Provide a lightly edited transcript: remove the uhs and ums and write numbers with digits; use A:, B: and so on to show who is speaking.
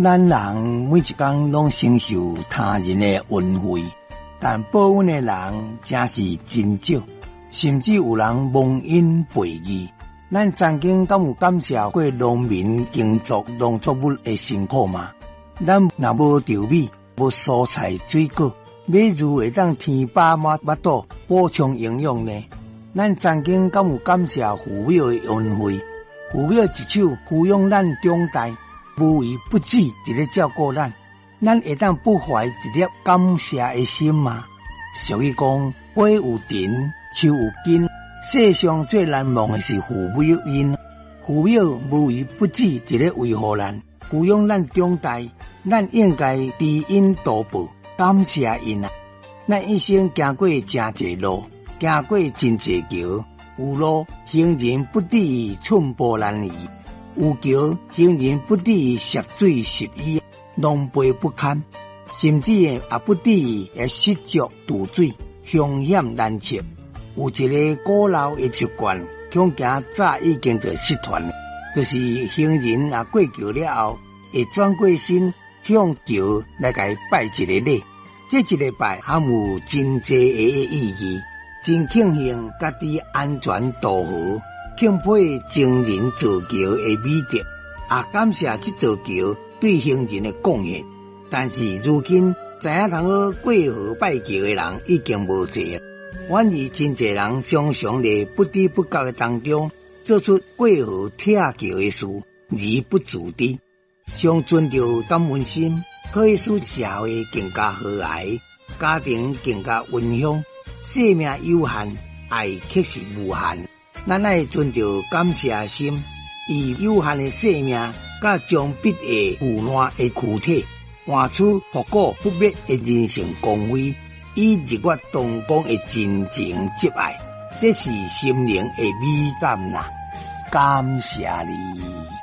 A: 咱人每一工攏承受他人的恩惠，但報恩的人真是真少，甚至有人忘恩背義。咱曾經敢有感謝過農民耕作農作物的辛苦嗎？咱若無稻米，無蔬菜水果，欲如何會當填飽滿腹肚，補充營養呢？咱曾經敢有感謝父母的恩惠？父母一手撫養咱長大，無微不至佇咧照顧咱，咱會當不懷一粒感謝的心嗎？俗語講，花有蒂，樹有根，世上最難忘的是父母恩。父母無微不至佇咧維護咱，撫養咱長大，咱應該知恩圖報，感謝𪜶啊！咱一生行過誠濟路，行過真濟橋，有路行人不至於寸步難移，有橋行人不至於涉水濕衣，狼狽不堪，甚至也不至於會失足墜水，凶險難測。有一个古老的習慣，恐驚早已經就失傳，就是行人若過橋了後，會轉過身向橋來共伊拜一个禮。這一个拜含有真濟个意義，真慶幸家己安全渡河，欽佩前人造橋的美德，也感謝這座橋對行人的貢獻。但是如今知影通好過河拜橋的人已經無濟，反而真濟人常常佇不知不覺的當中做出過河拆橋的事，而不自知。常存著感恩心，可以使社會更加和諧，家庭更加溫馨。生命有限，愛卻是無限。咱愛存著感謝心，以有限的生命，佮將必會腐爛的軀體，換取復古不滅的人性光輝，以日月同光的真情執愛，這是心靈的美感啦！感謝你。